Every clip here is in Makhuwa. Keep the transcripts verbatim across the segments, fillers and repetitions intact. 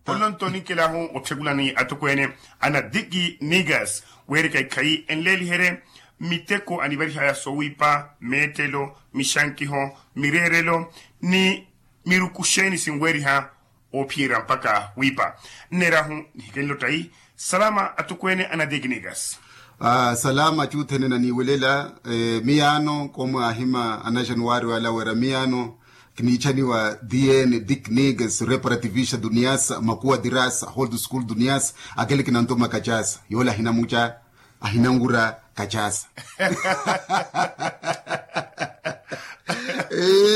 Olonto ninkelahu otthekulani atukweene ana diki nigas weereka ikhayi enleeliherye miteko anivarihaya sowiipa meettelo mixankiho mireerelo ni miruku xeeni sinweeriha oophiyeerya mpakha wiipa. Nneerahu nihikenle ottayi salama atukweene ana diki nigas. Salama cuuthene naniiwelela. Miyaano koomwe ahima ana januwari wala weera miyaano kiniichaniwa dn diknigas reparativista duniasa makuwa dirasa hold school duniasa. Akele kinantoma kacasa yoola ahinamuca ahinanwura kacasa.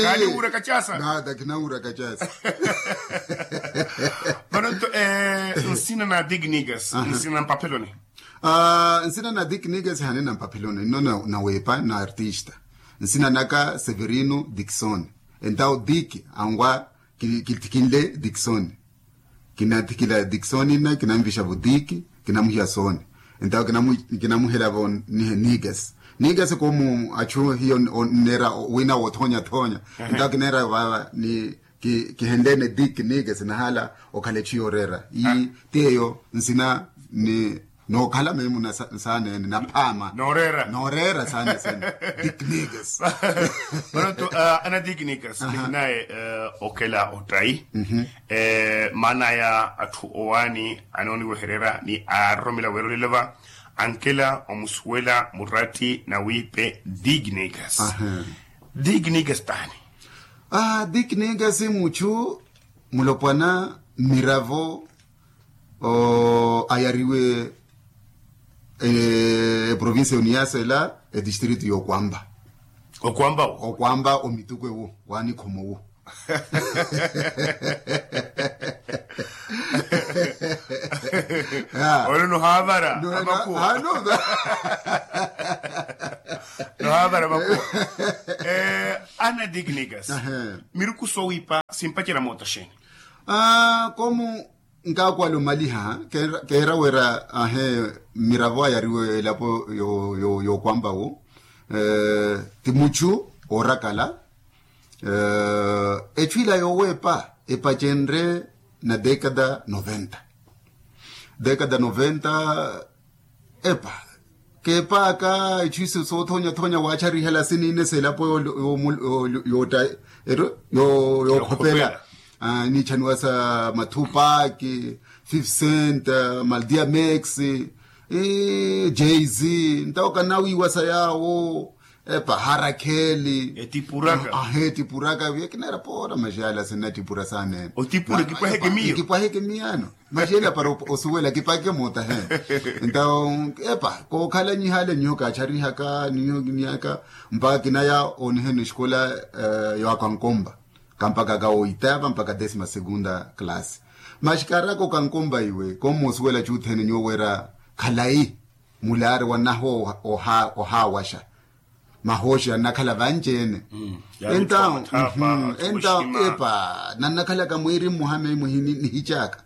Kaaniwura kacasa nada kinanwura kacasa. Vano nto nsina na diknigas nsina na mpapeloni. Nsina na diknigas hanina mpapeloni nno naweepa na artista. Nsina naka severino diksoni. Entawo dik anwa kitikinle diksoni. Kinathikila diksoni nna kinanvixa vo dik kinamuhiya soni. Entawo kinamuhela vo nihe nigas. Nigas komu achu hiyo nera wina wothonya thonya. Entawo kinera vava ni kihenlene dik nigas nahala okhala echu yorera. Ii ti eyo nsina ni nookhala meemu na saanene naphaama nooreera nooreera saane sene. Diknigas. Pronto ana diknigas nihinaye okela ottayi. Maana ya atthu owaani anooniwehererya ni aaroromela weerolelova ankela omusuwela muratti na wiipe diknigas. Diknigas taani? Diknigas muchu mulopwana mmiravo ayariwe eprovincia yoniyasa ela etistrito yokwamba. Okwamba wo okwamba omituku ewo wanikhomo wo. Olo nohaavara amakuwa. Nohaavara amakuwa. Ana diknikas miruku sowiipa simpacerya moota xeeni? Komu nkaakwala omaliha keera wera ahe mmiravo ayariwe elapo yookwamba wo ti muchu oorakala. Echu ila yooweepa epacenre na dekada noventa. Dekada noventa epa keepaaka ichu isu soothonya-thonya waacharihala siniine seelapo yookhopela. Yookhopela. Niichaniwa sa mathupaaki fifty cent maldia max jz. Ntawo kanawiiwa sa yaawo epa harakheli etipuraka. Ahe etipuraka viye kineera poora maxiyala sinnatipura saanene. Otipura kipwaheke miyo kipwaheke miyano. Maxiyela para osuwela kipaheke moota he. Ntawo epa kookhala nyihaale nyiho kaacharihaka nyiho kiniaka mpaka kinaya oniheni esikola yoakankomba kampaka ka oitava mpaka desima segunda classe. Maxi kaaraka okankomba iwe kommoosuwela chuuthene nyuwo wira khalayi mulaari wannaho ohaawaxa. Mahooxi annakhala vanci-ene. Entawo epa nannakhalaka mwiiri mmuha meyi muhini nihicaka.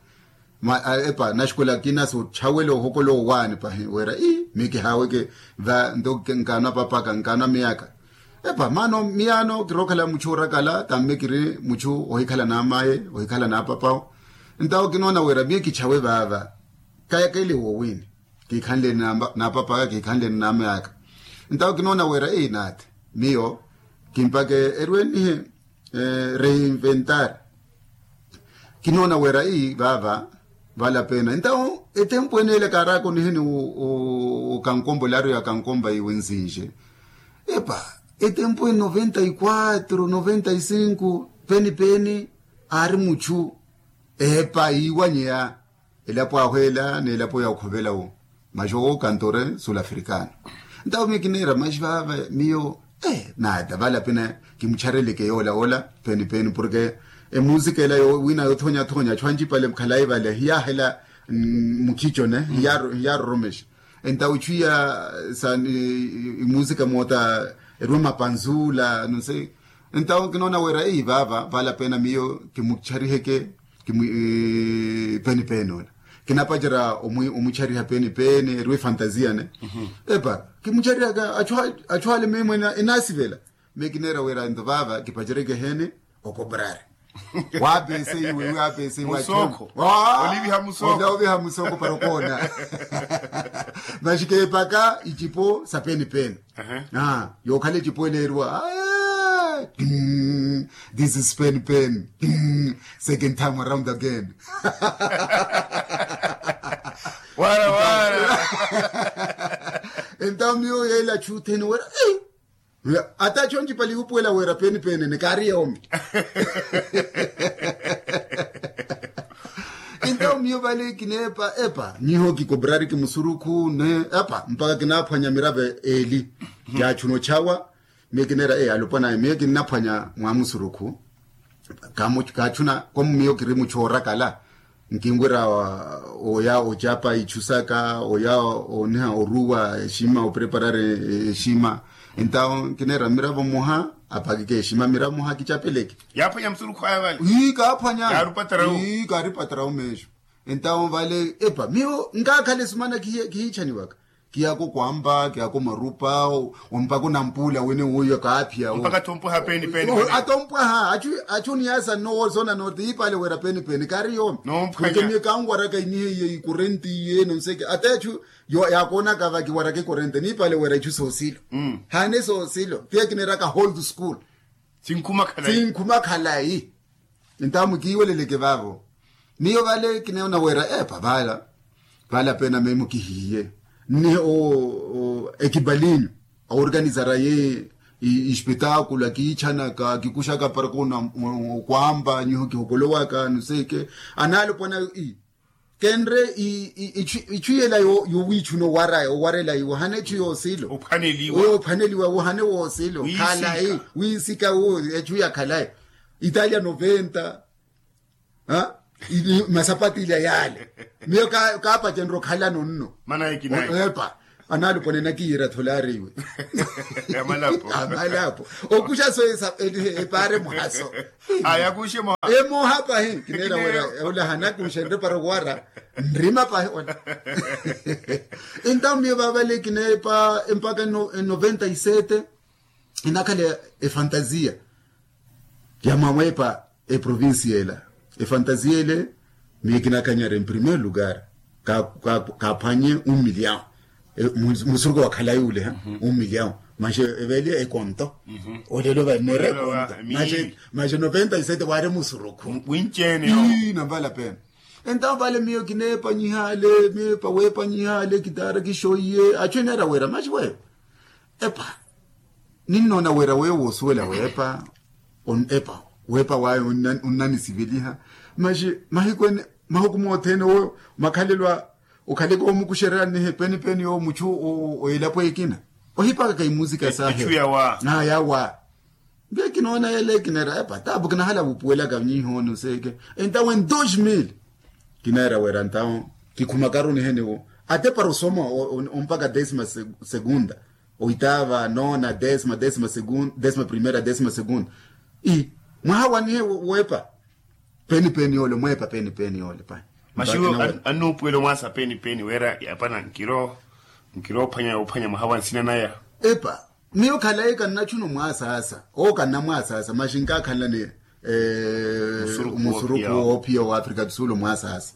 Epa naxikola kina soochawela ohokola owaani pahi wira ii miyo kihaaweke va nto nkaanwa papaka nkaanwa miyaka. Epa maano miyaano kirookhala muchu oorakala tamme kiri muchu ohikhala n'amaye ohikhala n'apapawo. Ntawo kinoona wira miyo kichawe vaava kayakele woowini kiikhanleni n'apapaka kiikhanleni n'amayaka. Ntawo kinoona wira ii naati miyo kimpake erwenihe reinventar. Kinoona wira ii vaava valapena ntawo etempu ene ele kaaraka oniheni okankombo laari ya kankomba iwe nzinxe. Epa etempu ene noventa y quatro noventa y cinco peni peni aari muchu epa iiwanyeya elapo ahweela n'elapo ya okhovela wo. Maxi owo kantore sul africano. Ntawo miyo kineera maxi vaava miyo naata valapena kimuchareleke yoola ola peni peni porke emusika ela wina yothonyathonya achu anjipale khalayi vale hiyaahela mukhichone hiyaaroromexa. Entawo ichu iya sa imusika moota erwe mapanzula nuse. Entawo kinoona wira ii vaava valapena miyo kimuchariheke kimu peni peni ola kinapacerya omuchariha peni peni erwe fantasia ne. Epa kimucharihaka achu ale mimwe enasivela. Miyo kineera wira nto vaava kipaceryeke hene okoprari Waapeseiwe waapeseiwe. Musoko. Oliviha musoko para okoona. Maxi keepaka icipo sa penipeni. Yookhala ecipo eleeriwa. This is penipeni. Second time around again. Wara wara. Entawo miyo yeela chutheni wera. Ata acho ncipali wupuwela wira penipeni ni kaari yoomi. Entawo miyo vale kineepa epa nyiho kikobrariki musurukhu ne epa mpaka kinaaphwanya miravo eeli. Yaachuna ochawa. Miyo kineera e alopwana ayo miyo kinnaphwanya mwa musurukhu. Kaachuna komu miyo kiri muchoorakala. Nkinwira oya ocapa ichu saka oya oniha oruwa exima opreparari exima. Entawo nkineera miravo mmoha apakike exima miravo mmoha kichapeleke. Yaaphwanya musurukhu aya vale. Ii kaaphwanya. Kaaripatarawu. Ii kaaripatarawu meexo. Entawo vale epa miyo nkaakhala esumana kihiichaniwaka. Kiyaka okwampa kiyaka omarupa. Ompaka onampuula wene woyo kaaphiya wo mpaka atompwaha penipeni. Atompwaha achu oniyaasa nno wosoona nooti ipaale wira penipeni kaari yoomi. Nompwanya. Miyo kanwaraka iniha iye ikurenti iye nonseke ata achu yaakoonaka vakiwaraka ikurenti niipaale wira ichu soosilo. Haane soosilo piya kineeraka hold school. Sinkhuma khalayi. Entamu kiiweleleke vaavo. Miyo vale kineena wira epa vala. Vala pena memu kihiye nni o ekipalinyu aorganizaraye. Ispetakulo akiichanaka kikuxaka para koona okwampa nyiho kihokolowaka nuseke. Analopwana kenre ichu iyela yowiichuna owaraya owarela iwo hane echu yoosilo. Ophwaneliwa wohane woosilo khalayi. Wiisika wo echu yakhalayi. Italia noventa. Masapati ila yaale. Miyo kaapacenrya okhalano nno. Epa. Anaalupone nakiira tholari iwe. Amalapo okuxa so. Epaare muhaso. Emoha pahi kineera wira ola hanakuxenrye para owara. Nrima pahi ola. Entamu miyo vaavale kineepa empaka noventa y sete. Enakhala efantasia ya mwawepa eprovincia ela. Efantasia ele miyo kinakanyara en primeiro lugar. Kaaphwanye un million. Musuruko wakhalayi ule un million. Maxi eveeliya ekonto. Olelo vaneera ekonto. Maxi noventa y sete waari musuruko winceene. Namvala pena. Entawo vale miyo kineepa nyihale miyo epa weepa nyihale kitaara kixoiye achu eneera wira maxi weyo. Epa ninnoona wira weyo woosuwela weepa. Epa weepa wayo onnanisiveliha. Maxi mahiku ene mahuku mothene owo makhalelo a okhaleke omukuxererya nnihe penipeni yowo muchu. Elapo ekina ohipakaka imusika sahe. Yawa. Mbe kinoona yele kineera epa tapu kinahala vupuwelaka nyihooni oseeke. Entawo en dos mil kineera wira ntawo kikhumakaru niheniwo ate para osoma ompaka desima segunda. Oitava nona desima desima segunda desima primera desima segunda. Mwaha wanihe wepa penipeni yole mwepa penipeni yole pai. Maxiwo annuupuwela omwaasa penipeni wira yapana nkiro nkiro ophwanya ophwanya mwaha wa nsina naya. Epa miyo khalayi kannachuna omwasaasa owo kannamwasaasa maxi nkakhalani. Musuruku woophiya wa afrika do sul omwasaasa.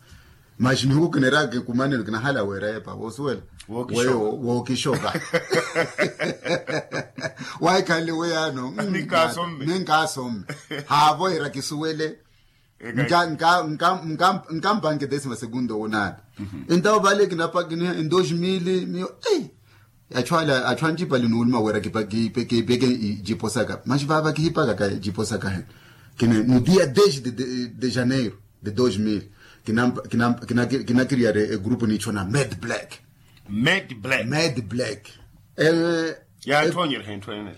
Maxi nihuku kineeraka kikumanelo kinahala weera epa woosuwela weyo wookixoka. Waahikhanle weyaano ninkasomme haavoyera kisuwele. Nkampanke desima segunda owonaani. Entawo vale kinapakiniha en dos mil miyo ei. Achwala achwanjipali nuuluma wera kipeke icipo saka maxi vava kihipakaka icipo saka hene. Kine no dia dez de janeiro de dos mil kinakiriyari egrupu niichona med black. Med black. Med black. Yaatthonyerya hentthonyerya.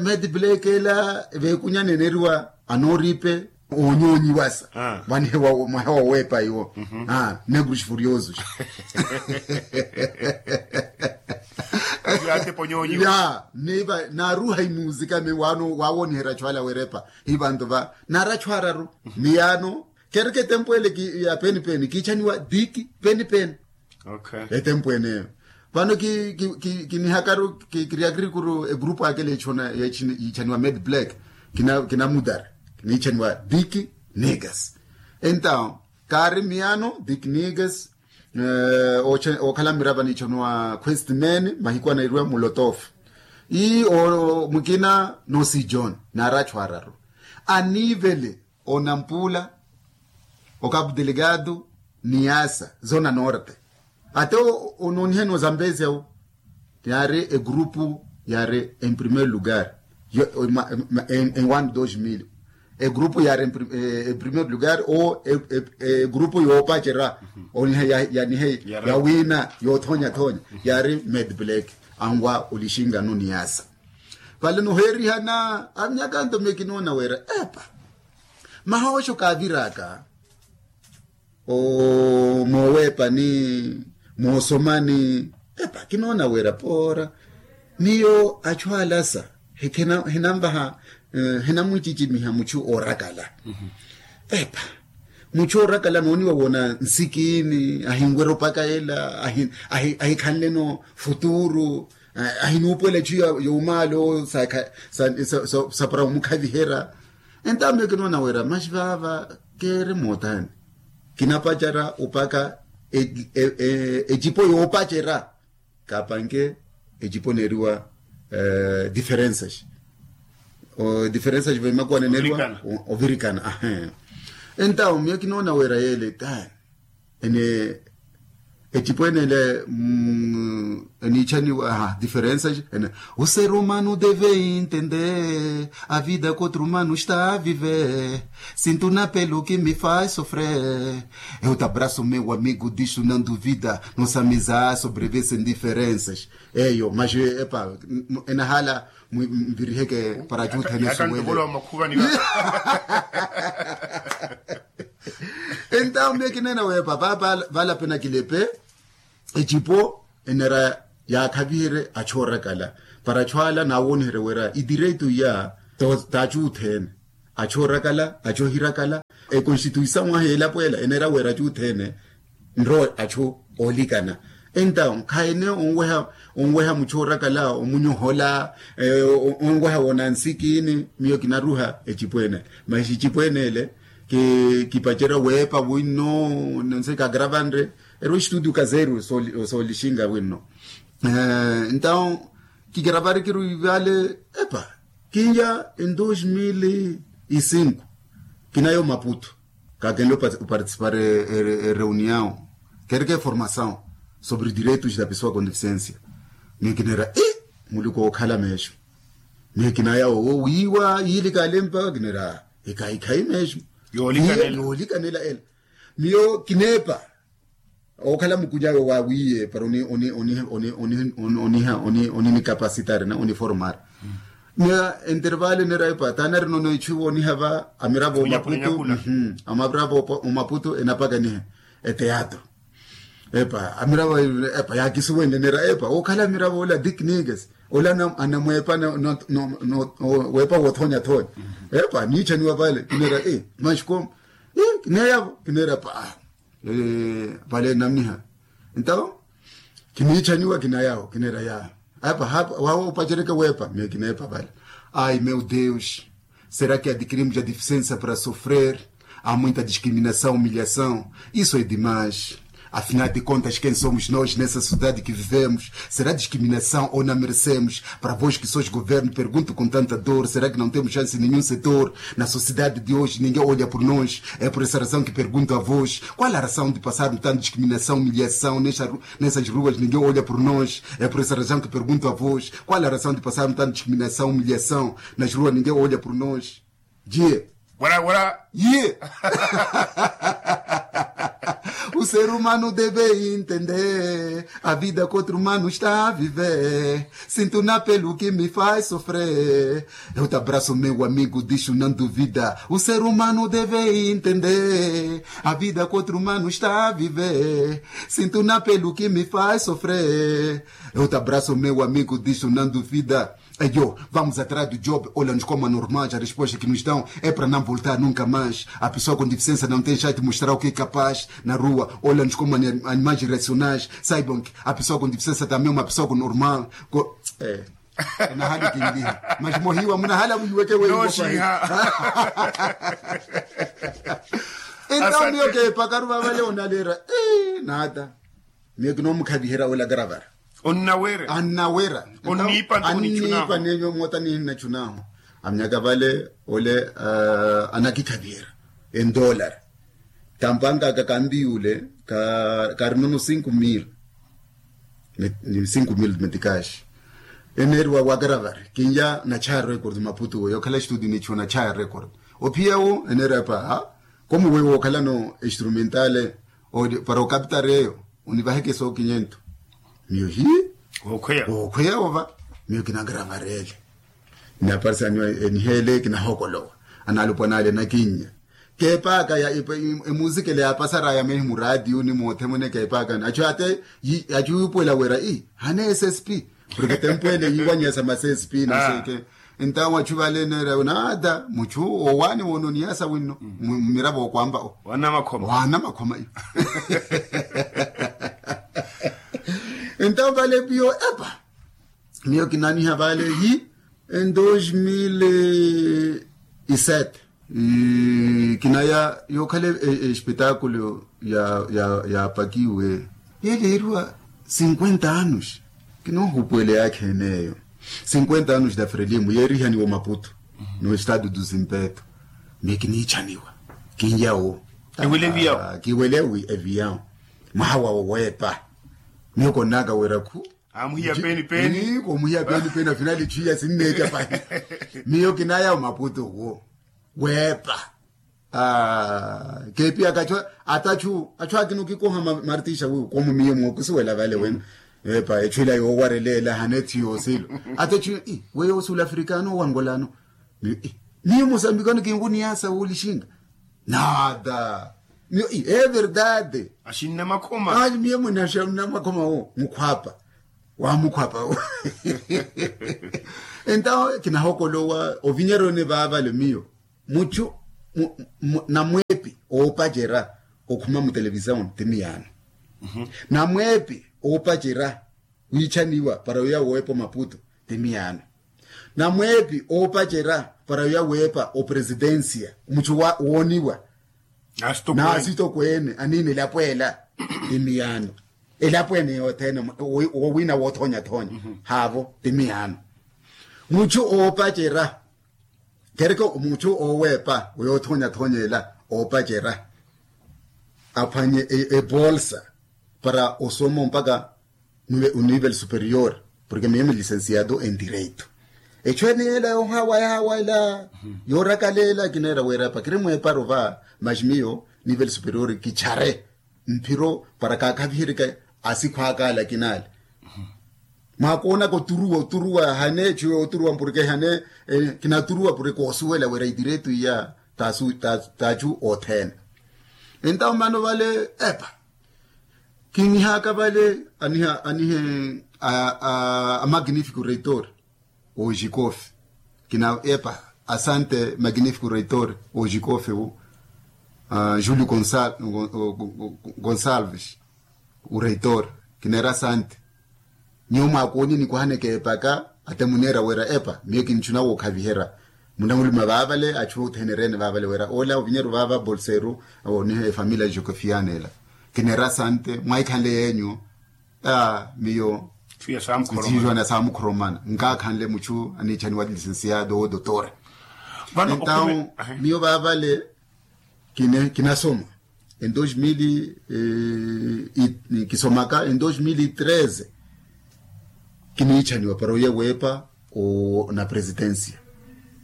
Medi black ela veekunya neneriwa anooripe oonyoonyiwasa. Vanihewa mwahewa oweepa iwo. Negros furiosos. Naaruha imuzika mi wawooniherya achwala werepa. Hi vantu va naari achwararu. Miyaano kereke etempu ele ya penipeni kiichaniwa diki penipeni. Etempu eneyo vano kinihakaru kiriakirikuru egrupu akele yiichaniwa med black. Kinamudara Kiniitchaniwa dick nigas. Entaw kaari miyano dick nigas. Okhala mmirava niitchaniwa questman mahiku anairiwa mulotof. Ii mukina nosi john naari achu araru anivele onampula, okapu delegado, niasa zona norte. Ate onooniheni ozambezia wu yaari egrupu yaari en primeiro lugar en one dos mil. Egrupu yaari en primeiro lugar o egrupu yoopacera oniha yanihe yawina yoothonyathonya yaari medblack. Anwa olixingano niasa vale noheerihana avinyaka nto miyo kinoona wira epa mahooxo kaaviraka moowepani moosomani. Epa kinoona wira poora miyo achu alasa hinanvaha hinamwichichimiha muchu oorakala. Epa muchu oorakala nooniwa woona nsikini ahinwerya opaka ela ahikhanleno futuru. Ahinuupuwela echu yowumaalo sapara omukhaviherya. Entawo miyo kinoona wira maxi vaava keeri mootani kinapacara opaka ecipo yoopacara kaapanke ecipo neeriwa diferensas diferensas vaimakuwa neneeriwa ovirikana. Entawo miyo kinoona wira yeele tani ene ecipo enele eniitchaniwa diferensas ene o ser humano deve intender a vida que outro humano está a viver. Sinto na pelo que me faz sofrer eu te abraço meu amigo disso não duvida. Nossa amizade sobrevive sem diferensas. Eyo mas epa enahala mviriheke para ajuthene suwele. Entawo miyo kineena weepa vale apenakilepe ecipo enera yaakhaviherye achu oorakala para achu ala naawooniherye wira idireito iya t'achu othene achu oorakala achu ohirakala. Ekonstituisaw ahi elapo ela enera wira achu othene nrowe achu oolikana. Entawo khayi ene onweha muchu oorakala omunyohola onweha woona nsikini miyo kinaruha ecipo ene. Maxi ecipo ene ele kipacerya weepa winno nonse kagaravanre erwa estudio kazeru soolixinga winno. Entawo kigaravari kiruivale epa kinya en dos mil e cinco kinaya omaputo kakenle oparticipar ereunião kereke formação sobre direitos da pessoa com deficiência. Miyo kineera i muluku ookhala meexo miyo kinaya owo wiiwa yiili kalempa kineera ekaikhayi meexo yoolikanela ela. Miyo kineepa ookhala mukunyawe waawiiye para oniha onikapacitar na oniformar. Miyo entervale neera epa taanarina ono ichu iwo oniha va amiravo omaputu. Amiravo omaputu enapakaniha eteatro epa amiravo epa yaakisuwenle neera epa ookhala amiravo ola dick nigas ola anamweepa weepa woothonyathonya. Epa niitchaniwa vale kineera e maxi komu kineyavo kineera epa vale namniha. Entawo kiniitthaniwa kinayawo kineera ya apa wawo opacereke weepa miyo kineepa vale. Ai meu deus, será que adquirimos a deficiência para sofrer? Há muita discriminação humilhação. Isso é demais. Afinal de contas quem somos nós nessa sociedade que vivemos? Será discriminação ou não merecemos? Para vós que sois governo pergunto com tanta dor, será que não temos chance em nenhum setor? Na sociedade de hoje ninguém olha por nós. É por essa razão que pergunto a vós qual a razão de passarmos tanta discriminação humilhação nessas ruas ninguém olha por nós. É por essa razão que pergunto a vós qual a razão de passarmos tanta discriminação humilhação nas ruas ninguém olha por nós. Diye. Wala wala. Ye. O ser humano deve entender a vida que outro humano está a viver. Sinto na pele o que me faz sofrer. Eu te abraço meu amigo disso não duvida. O ser humano deve entender a vida que outro humano está a viver. Sinto na pele o que me faz sofrer. Eu te abraço meu amigo disso não duvida. Eyo vamos atrás do job olha nos como anormais a resposta que nos dão é para não voltar nunca mais. A pessoa com deficiência não tem chance de mostrar o que é capaz na rua olha nos como animais irracionais. Saibam que a pessoa com deficiência também é uma pessoa normal. Nahali kinliha. Masi mohiwa munahala muhiweke weyi. Entawo miyo keepakaru vavale onaleera. Nata miyo kinomukhaviherya wela karavara. Onnawera. Annawera. Onnipa. Onnipa nenyo mota ninnachunaho. Amnyaka vale ole anakikhaviherya endolar. Tampanga aka kampiyule karinono cinco mil. Ni cinco mil metikaxi. Eneeriwa wakaravare kinya nachaya record maputu weyo okhala estudio nichu nachaya record. Ophiya wo eneeriwa epa ha komu weyo okhalano instrumentale para okapitareyo. Onivaheke sookinyento. Miyo hi. Okhweya ova. Miyo kinakaravarele. Naparisa niyo eniheele kinahokolowa. Analupwa nale nakinnya. Keepaaka ya emusikele yaapasaraya mehi muraatiyo ni moothemwene keepaaka achu ate achu yuupuwela wira ii hane ssp. Porke tempu ele yiiwanyesa ma ssp naseke. Entawo achu vale neera nata muchu owaani woona oniyasa winno. Mmiravo okwamba o. Waana makhoma iyo. Entawo vale piyo epa. Miyo kinaniha vale hi en dos mil e sete. Kinaya yookhala espetakulo yaapakiwe yeleeriwa cinquenta anos. Kinoohupuwele yaakha eneeyo cinquenta anos da frelimo yeerihaniwa omaputu no estado do zimpeto. Miyo kiniichaniwa kinyawo kiwele eviyawo. Mwaha wawo weepa. Miyo konnaka wira khu amuhiya peni peni. Komuhiya peni peni afinali chiya sinneeca pahi. Miyo kinaya omaputu wo weepa. Keepiyaka achu ata achu achu akina okikoha martisha wiwo komu miyo mookusuwela vale wene. Epa echu ila yoowarelela hane thiyo silo. Ata achu weyo sulafrikano wangolano. Miyo mosambikano kinkuniyasa wolixinga. Nada. Miyo e verdade. Axinna makhoma. Miyo munaxamuna makhoma wo mukhwapa. Wamukhwapa wo. Entawo kinahokolowa ovinyeroni vaavale miyo muchu namweepi oopacerya okhuma mutelevisaoni ti miyaano. Namweepi oopacerya wiichaniwa para oya woowepa omaputu ti miyaano. Namweepi oopacerya para oya weepa opresidensia muchu wooniwa n'asitokweene aniina elapo ela ti miyaano. Elapo ene yothene wowiina woothoonya-thoonya haavo ti miyaano. Muchu oopacerya kereke muchu ooweepa oyoothoonyathoonya ela oopacerya aphwanye ebolsa para osoma mpakha onivel superior. Porke miyo milicensiado en direito. Echu ene ela yoohawa yahawa ela yoorakala ela kineera wira epa kiri mweeparu va. Maxi miyo nivel superior kichare mphiro para kaakhaviheryeke asikhwaaka ala kinaale. Mwaakoonaka oturuwa oturuwa hane echu yooturuwa mpureke hane kinaturuwa pureke oosuwela wira idiretu iya t'achu othene. Entawo mano vale epa kinihaka vale aniha anihe a magnifico reitor ojikofe. Kina epa asante magnifico reitor ojikofe wu julio gonçalves ureitor. Kineera asante. Nyuwo mwaakoonye nikuhaneke epaka ate muneera wira epa miyo kinichuna wookhaviherya. Munamuluma vaavale achu othene ereene vaavale wira ola ovinyeru vaava bolseru oniha efamilia jokofiana ela. Kineera asante mwaikhanle yeenyu. Miyo siijona saamukhoromana nkaakhanle muchu aniichaniwa licensiado wo dotora. Entawo miyo vaavale kinasoma en dos mil kisomaka en dos mil e treze. Kiniichaniwa para oye weepa na presidencia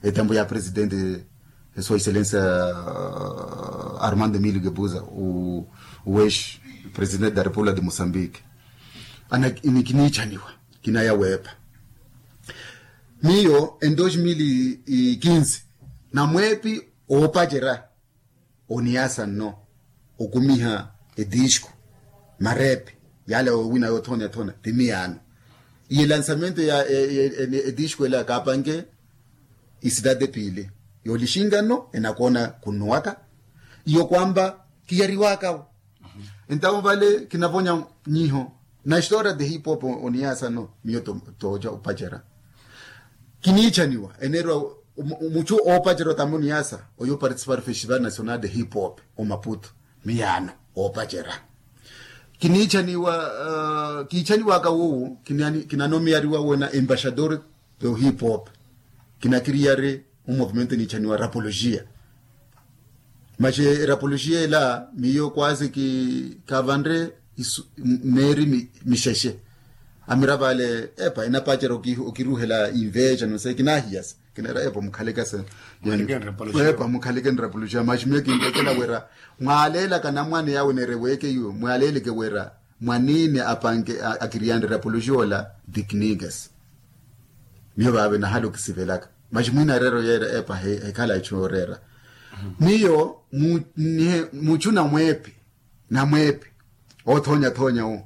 etambo ya presidente sua excellencia armando emilio gebuza, uwex presidente da república de moçambique. Ana kiniichaniwa kinaya weepa miyo en dos mil e quinze namweepi oopacerya oniyasa nno okumiha edisco marepe yala owina yoothoonya-thoonya ti miyaano. Iye lansamento ya edisco ela kaapanke isidade piili yoolixinka nno enakoona khunnuwaka iyo kwampa kiyariwakawo. Entawo vale kinavonya nyiho na história de hip hop oniyasa nno miyo tooca opacerya. Kiniichaniwa enerwa muchu oopacerya otamuni yasa oyo participar festival national de hip hop omaputo. Miyaano oopacerya kiniichaniwa. Kiichaniwaka wowu kinanomiyariwa wena embaixador do hip hop. Kinakiriyari omovimento iniichaniwa rapologia. Maxe erapologia ela miyo kwasi kavanre meeri mixexe. Amira vale epa enapacerya okiruhela inveja nose kinahiyasa. Kinera epa mukhalekase epa mukhaleke nrapuluxa maxi miyo kintekela wira mwaleelaka namwane yawe nereweeke iwe mwaleeleke wira mwanini apanke akiriyani nrapuluxa ola. Diknikes miyo vave nahala okisivelaka maxi mwinareero yeera epa hekhala echu oreera. Miyo muchu namweepi namweepi othonyathonya wo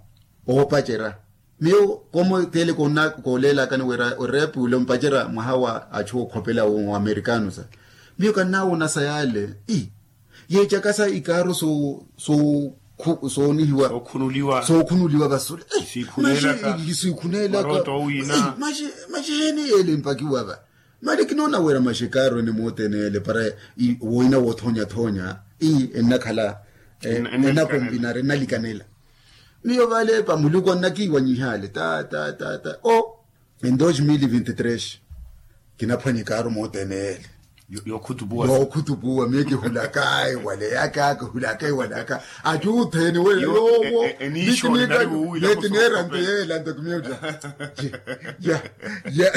oopacerya. Miyo komo tele koleelakani wira oreepi ule ompacerya mwaha wa achu okhopela wo amerikano sa. Miyo kannawonasa yale i yeecakasa ikaaru soonihiwa sookhunuliwa vasule. Sikhuneelaka maxi heeni yeele mpakiwa va. Mali kinoona wira maxi ekaaru ene mooteneele para woina woothonyathonya i ennakhala enakombinari ennalikanela. Miyo vale epa muluku annakiiwanyihaale ta ta ta ta o en dos mil vinti tres. Kinaphwanya ekaaru mooteneele yookhutupuwa miyo kihulaka ewaleyaka kihulaka ewalaka. Acuutheni we yoowo neti neera nto yeela nto kimiyo ya ya ya.